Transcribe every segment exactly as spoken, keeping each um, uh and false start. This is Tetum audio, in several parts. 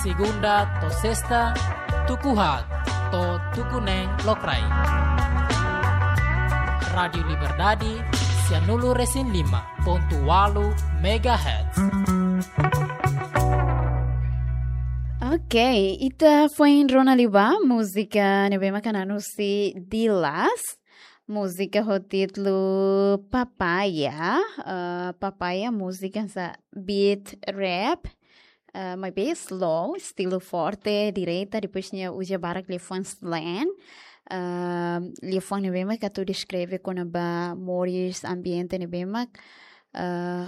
Segunda to'o sesta, tuku haat to'o tuku neen lokraik. Rádiu Liberdade, sianulu-resin-lima pontu ualu megahertz. Ok, ita foin rona liu ba múzika ne'ebé mak hanesan husi Dilas. Múzika ho títulu Papaya. Eh, Papaya, múzika hanesan beat rap. Eh, maibé slow, estilu forte, direta, depois nia uza barak liafuan slang. Eh, liafuan ne'ebé mak atu deskreve kona-ba moris, ambiente ne'ebé mak, eh,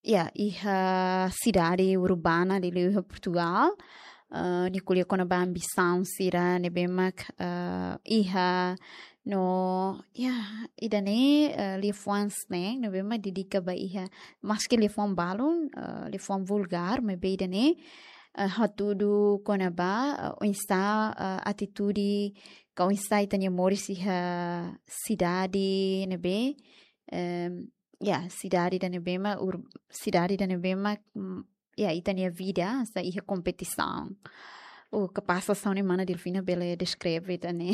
ya, iha sidade urbana liuliu iha Portugal. Eh, nia ko'alia kona-ba ambisaun sira ne'ebé mak, eh, iha no, ya, ida-ne'e, eh, liafuan slang ne'ebé mak dedika ba iha, maski liafuan balun, eh, liafuan vulgár, maibé ida-ne'e, eh, hatudu kona-ba, eh, oinsá, eh, atitude, ka oinsá ita-nia moris iha sidade ne'ebé, em, ya, sidade ida ne'ebé mak ur-, sidade ida ne'ebé mak, mm, ya, ita-nia vida hanesan iha kompetisaun. Oh, kapás hanesan ne'e mana Delfina bele deskreve ida-ne'e.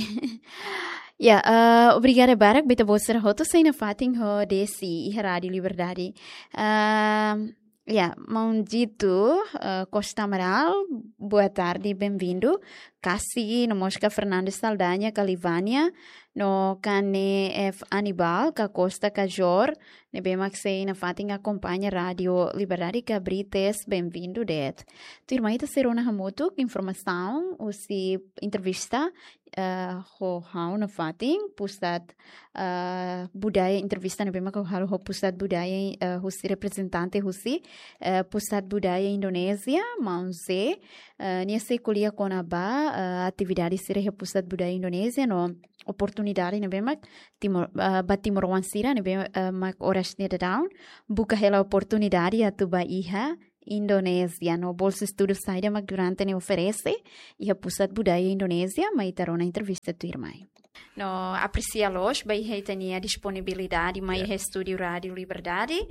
Ya, eh, obrigada barak ba ita-boot sira hotu, sei nafatin ho Desi iha Rádiu Liberdade. Ehm, ya, maun Dito, eh, Costa Amaral, boa tarde, bem-vindo. Kasi, no mós ka Fernando Saldanha, ka Livânia, no Cane F Anibal, ka Costa, ka Jor, ne'ebé mak sei nafatin akompaña Rádiu Liberdade, ka Brites, bem-vindo de'it. Tuirmai ita sei rona hamutuk informasaun husi entrevista, eh, ho ha'u nafatin, Pusat, eh, Budaya, entrevista ne'ebé mak ha'u halo ho Pusat Budaya, eh, husi reprezentante husi, eh, Pusat Budaya Indonézia, maun Ze, eh, nia sei ko'alia kona-ba, eh, atividade sira iha Pusat Budaya Indonézia no oportunidade ne'ebé mak Timor, eh, ba timoroan sira ne'ebé, eh, mak oras ne'e daudaun buka hela oportunidade atu ba iha Indonézia no bolsa estudu saida mak durante ne'e oferese iha Pusat Budaya Indonézia, mai ita rona entrevista tuirmai. No apresia loos ba iha ita-nia disponibilidade mai Ya. iha estúdiu Rádiu Liberdade.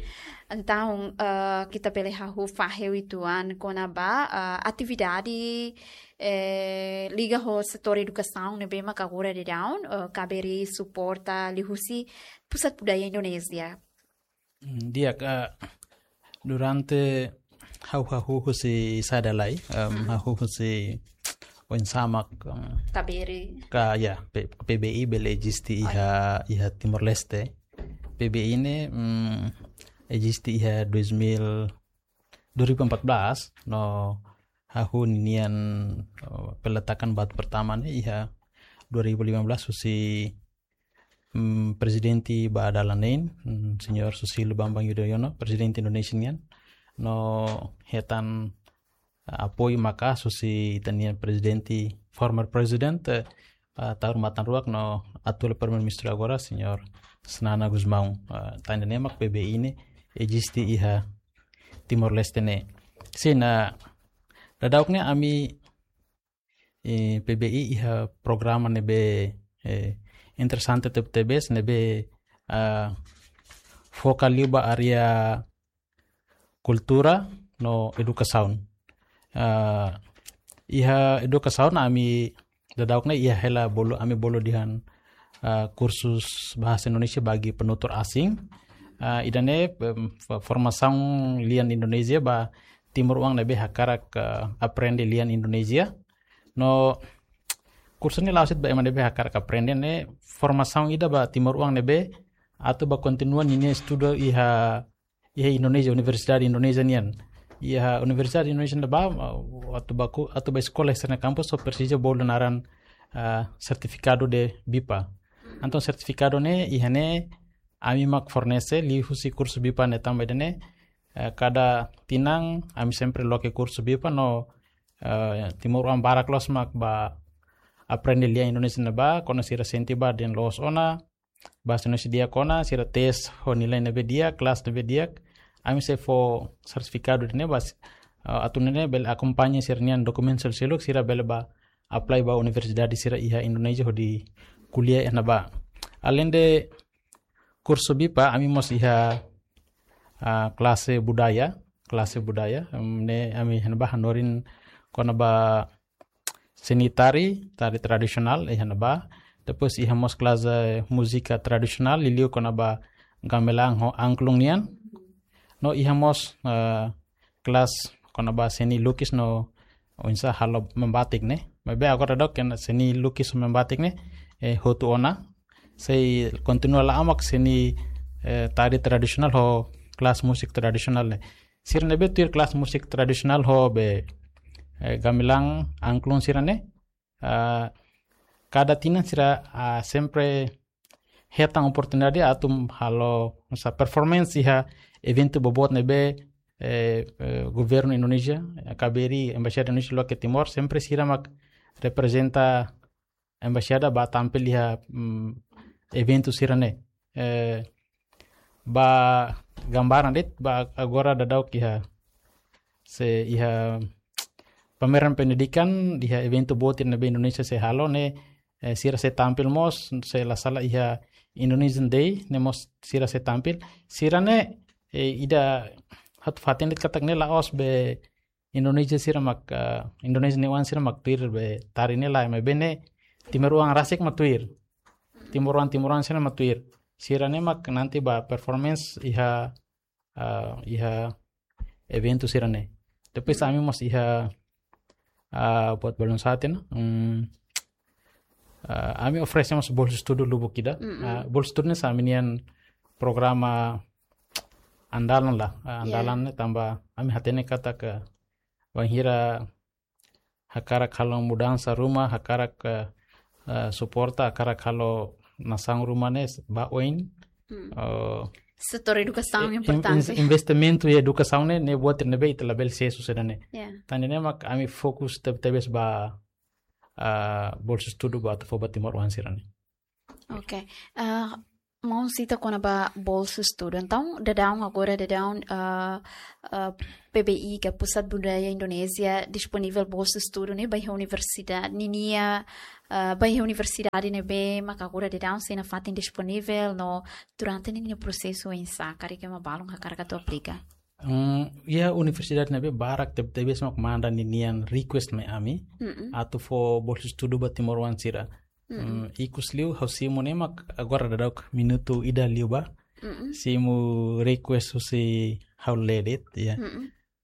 Entaun, eh, ita bele hahú fahe uitoan kona-ba, eh, atividade, eh, liga ho setór edukasaun ne'ebé mak agora daudaun, eh, KBRI suporta liuhusi Pusat Budaya Indonézia. Mm, di'ak, eh, durante ha'u hahú husi saida lai, em, Hmm. hahú husi oinsá mak, em, KBRI. Ka, ya, P-, PBI bele eziste Oh, iha, iha Timor-Leste. PBI ne'e, mm, eziste iha dois mil, dua ribu empat belas, no hahú ninian, eh, peletakan batu pertama ne'e iha dua ribu lima belas husi, mm, prezidente ba dala neen, mm, Señór Susilo Bambang Yudhoyono, prezidente Indonézia nian. No hetan, eh, apoiu maka'as husi ita-nia prezidente, former president, eh, eh, tahun matan ruak no atuál primeiru-ministru agora, Señór Xanana Gusmão. Eh, tan ida-ne'e mak PBI ne'e eziste iha Timor-Leste ne'e. Sin, eh, daudauk ne'e ami, eh, PBI iha programa ne'ebé, eh, interesante tebetebes ne'ebé, eh, foka liu ba área kultura no edukasaun. Eh, iha edukasaun ami daudauk ne'e iha hela bolu, ami bolu dehan, eh, kursus bahasa Indonesia bagi penutur asing. Eh, ida-ne'e, em, fo-, formasaun lian Indonézia ba timoroan ne'ebé hakarak, eh, aprende lian Indonézia. No kursu ne'e la'ós de'it ba ema ne'ebé hakarak aprende, ne'e formasaun ida ba timoroan ne'ebé atu ba kontinua ninia estudu iha, iha Indonézia, universidade Indonézia nian. Iha universidade Indonézia ne'ebá, uh, atu ba ku-, atu ba eskola iha sira-nia kampus só presiza bolu naran, uh, sertifikadu de BIPA. Entaun sertifikadu ne'e, iha ne'e, ami mak fornese liuhusi kursu BIPA ne'e tanba ida-ne'e, eh, kada tinan ami sempre loke kursu BIPA no, eh, timoroan barak loos mak ba aprende lian Indonézia ne'ebá, kuandu sira sente ba dehan loos ona, bahasa Indonézia di'ak ona, sira tes ho nilai ne'ebé di'ak, kelas ne'ebé di'ak, ami sei fó sertifikadu ida-ne'e ba, eh, atu nune'e bele akompaña sira-nia dokumentu seluk-seluk, sira bele ba apply ba universidade sira iha Indonézia hodi ko'alia iha ne'ebá. Além de kursu BIPA, ami mós iha, ah, klase budaya, klase budaya, em, ne'e ami iha ne'ebá hanorin kona-ba seni tari, tari tradisionál, iha ne'ebá. Depois iha mós kelas, eh, múzika tradisionál, liuliu kona-ba gamelan ho angklung nian. No iha mós, eh, kelas kona-ba seni lukis no oinsá halo membatik ne'e. Maibé agora daudaun seni lukis ho membatik ne'e, eh, hotu ona. Sei kontinua la'o mak seni, eh, tari tradisionál ho kelas múzika tradisionál ne'e. Sira ne'ebé tuir kelas múzika tradisionál ho be, eh, gamelan angklung sira-ne'e, ah, kada tinan sira, ah, sempre hetan oportunidade atu halo, oinsá, performance iha eventu boboot ne'ebé, eh, eh, governu Indonézia, eh, K B R I, Embaixada Indonézia loke Timor, sempre sira mak reprezenta embaixada bá tampil iha, mm, eventu sira-ne'e. Eh, ba gambaran de'it, ba agora daudaun iha, sei iha pameran pendidikan, iha eventu boot ne'ebé Indonézia sei halo ne'e, eh, sira sei tampil mós, se la sala iha Indonesian Day, ne'e mós sira sei tampil. Sira-ne'e, eh, ida atu fatin de'it katak ne'e la'ós be Indonézia sira mak, eh, Indonézia nia oan sira mak tuir be tari ne'e lae, maibé ne'e timoroan rasik mak tuir. Timoroan, timoroan sira mak tuir. Sira-ne'e mak nanti bá performance iha, eh, iha eventu sira-ne'e. Depois ami mós iha, eh, buat balun sá tiha ona. Hmm, eh, ami oferese mós bolsa estudu lubuk ida. Eh, bolsa estudu ne'e hanesan ami-nian programa andalan lah. Eh, andalan ne'e tanba ami hatene katak bainhira hakarak halo mudansa ruma, hakarak, eh, eh, suporta, hakarak halo nasaun ruma ne'e bá oin. Eh, setór edukasaun eh, in-, importante. In-, investimentu iha edukasaun ne'e, ne'e buat ne'ebé ita labele sees saida ne'e. Ya. Tan ne'e mak ami fokus teb-, tebes ba, ah, bolsa estudu ba atu fó ba timoroan sira-ne'e. Ok. Ah, maun sita kona-ba bolsa estudu. Entaun, daudaun agora, daudaun, ah, ah, P B I, ka Pusat Budaya Indonézia, disponivel bolsa estudu ne'e ba iha universidade, ninia, ah, ba iha universidade ne'ebé mak agora daudaun sei nafatin disponivel, no durante ninia prosesu oinsá, karik ema balun hakarak atu aplika. Hmm, iha universidade ne'ebé barak teb-, tebes mak manda ninian request mai ami, atu fó bolsa estudu ba timoroan sira. Mm, ikus liu ha'u simu ne'e mak agora daudaun minutu ida liubá. Simu request husi ha'u lee de'it, ya.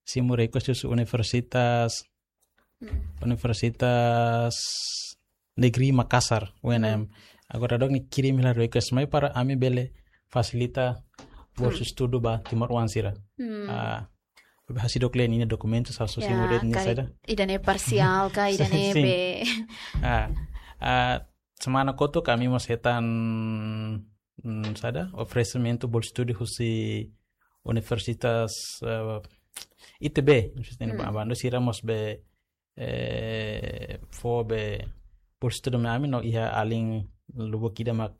Simu request husi Universitas, Universitas Negeri Makassar, U N M. Agora daudaun nia kirim hela request mai para ami bele fasilita bolsa estudu ba timoroan sira. Ah, be hasidok lee ninia dokumentu, sa so simu de'it nia karik saida. Ida-ne'e parsiál ka, ida-ne'e be. Ah, ah, semana kotuk ami mós hetan, mm, saida, oferesimentu bolsa estudu husi Universitas, eh, I T B, Universitas Abando, sira mós be, eh, fó be bolsa estudu mai ami no iha alin lubuk ida mak,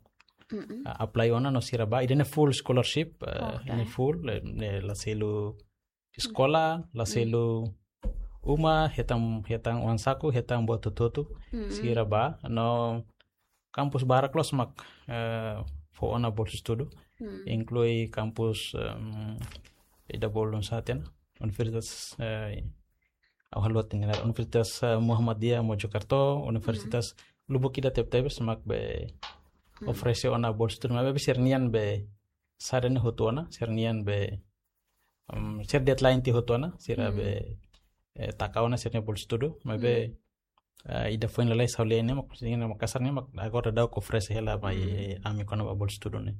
ah, apply ona no sira bá. Ida-ne'e full scholarship, eh, ida-ne'e full, eh, ne'e la selu eskola, la selu uma, hetan, hetan oan saku, hetan buat hotu-hotu, sira bá. No kampus barak loos mak, eh, fó ona bolsa estudu. Inklui kampus, em, ida balun sá tiha ona, Universitas, eh, ha'u haluha tiha ona, Universitas, eh, Muhammadiyah Mojokerto, Universitas lubuk ida teb-tebes mak be oferese ona bolsa estudu, maibé sira-nian be saida ne'e hotu ona, sira-nian be, em, sira deadline tiha hotu ona, sira be, eh, taka ona sira-nia bolsa estudu, maibé, eh, ida foin lalais ha'u lee ne'e mak, sira-nia Makassar ne'e mak agora daudaun oferese hela mai, eh, ami kona-ba bolsa estudu ne'e.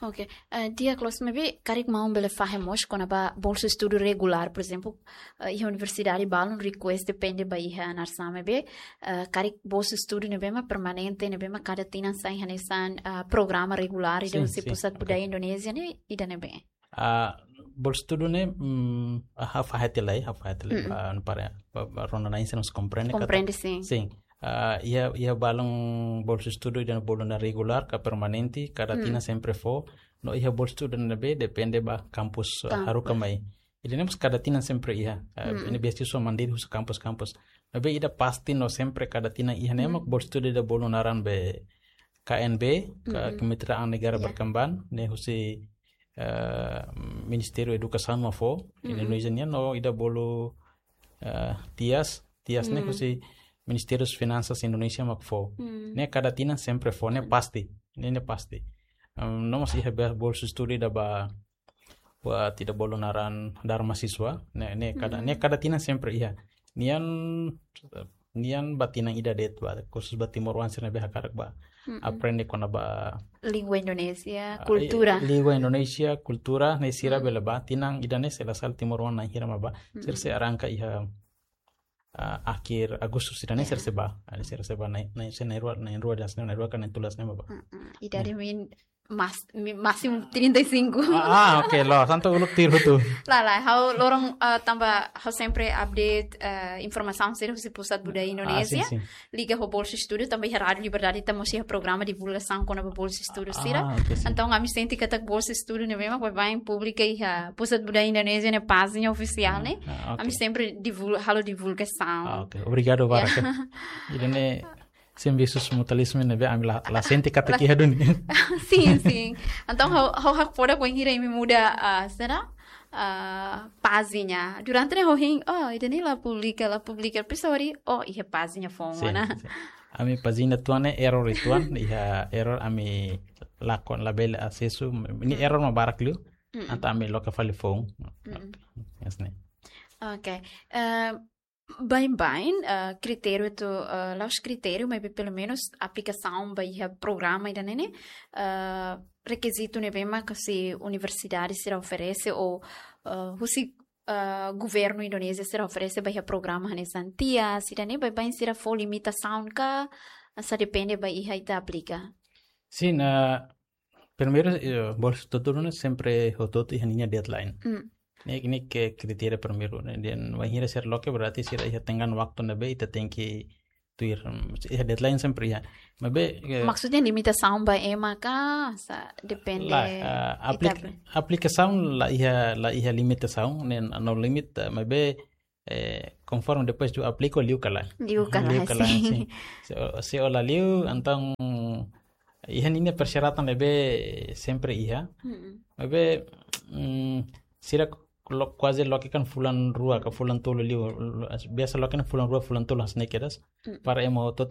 Ok. Eh, di'ak loos, maibé karik maun bele fahe mós kona-ba bolsa estudu regulár, por ezemplu, eh, iha universidade balun request depende ba iha narsá, maibé, eh, karik bolsa estudu ne'ebé mak permanente, ne'ebé mak kada tinan sai hanesan, ah, programa regulár ida husi Pusat Budaya Indonézia ne'e ida-ne'ebé? Ah, bolsa estudu ne'e, mm, ah, ha'u fahe tiha lai, ha'u fahe tiha lai, ah, para, ba, ba rona na'in sira mós komprende katak. Komprende, sin. Sin. Ah, iha, iha balun bolsa estudu ida balun regulár ka permanente, kada tinan sempre fó. No iha bolsa estudu ne'ebé depende ba kampus, ah, haruka mai. Ida-ne'e mós kada tinan sempre iha. Ah, ne'e beasiswa mandiri husi kampus-kampus. Maibé ida pasti no sempre kada tinan iha ne'e mak bolsa estudu ida balun naran be K N B, ka Kemitraan Negara Berkembang, ne'e husi, eh, Ministériu Edukasaun mak fó, Indonézia nian, no ida bolu, eh, TIAS, tiha hanesan ne'e husi Ministériu Finansas Indonézia mak fó. Ne'e kada tinan sempre fó, ne'e pasti. Ne'e, ne'e pasti. Em, no mós iha be bolsu estudu ida ba, ba ida bolu naran Dharma Siswa. Ne'e, ne'e kada, ne'e kada tinan sempre iha. Nian, nian ba tinan ida de'it ba, khusus ba timoroan sira ne'ebé hakarak ba aprende kona-ba, Língua Indonézia, ah, kultura. Língua Indonézia, kultura, ne'e sira bele ba, tinan ida-ne'e se la sala timoroan na'in hira mak ba. Sira sei arranka iha, ah, akhir Agustus ida-ne'e sira sei ba. Ah, sira sei ba na'in, na'in, se na'in rua, na'in rua hanesan ne'e, na'in rua ka na'in tolu hanesan ne'e ba. Idade min mas, mi-, másimu trinta e cinco. Ah, ah, oke, loos, entaun uluk tuir hotu. Lae, lae, ha'u loron, ah, tanba ha'u sempre update, ah, informasaun sira husi Pusat Budaya Indonézia. Ah, sin, sin. Liga ho bolsu estudu, tanba iha Rádiu Liberdade ita mós iha programa divulgasaun kona-ba bolsu estudu sira. Ah, oke, sin. Entaun, ami sente katak bolsu estudu ne'ebé mak baibain publika iha Pusat Budaya Indonézia nia pájina ofisiál ne'e. Ah, oke. Ami sempre divul-, halo divulgasaun. Ah, oke. Obrigadu barak. Ida-ne'e servisu mutualismo ne'ebé ami la, la sente katak iha duni. Sin, sin. Entaun, ha'u, ha'u hakfodak bainhira imi muda, ah, sira, ah, pájina. Durante ne'e ha'u hein, oh, ida-ne'e la publika, la publika. Depois ha'u haree, oh, iha pájina foun, Sin, mana? Sin. Ami pájina uitoan ne'e error uitoan, iha error ami lakon labele asesu, ne'e error mak barak liu, entaun ami loke fali foun. Hanesan ne'e. Oke. Eh, baibain, eh, kritériu atu, eh, la'ós kritériu, maibé pelumenus aplikasaun ba iha programa ida-ne'e, eh, rekizitu ne'ebé mak husi universidade sira oferese ou, eh, husi, eh, governu Indonézia sira oferese ba iha programa hanesan tiha, sira-ne'e baibain sira fó limitasaun ka, sá depende ba iha ita aplika? Sin, ah, primeiru, eh, bolsu estudu ne'e sempre hotu-hotu iha ninia deadline. Mm. Ne'e, ne'e ke kritériu primeiru, ne'e. Dehan bainhira sira loke berarti sira iha tenggang waktu ne'ebé ita tenke tuir, mm, iha deadline sempre iha. Maibé, eh, Maksudnya limitasaun ba ema ka, sá depende lae, ah, ita aplik-, aplikasaun la iha, la iha limitasaun, ne'e no limit, eh, maibé, eh, konforme depois de aplika liu ka lae. Liu ka lae, Liu ka lae, sin. sin. Se, se la liu, entaun iha ninia persyaratan ne'ebé sempre iha. Mm-mm. Maibé, mm, sira lo-, kuaze loke kan fulan rua ka fulan tolu liu, lo-, biasa loke kan fulan rua, fulan tolu hanesan ne'e kedas. Mm. Para ema hotu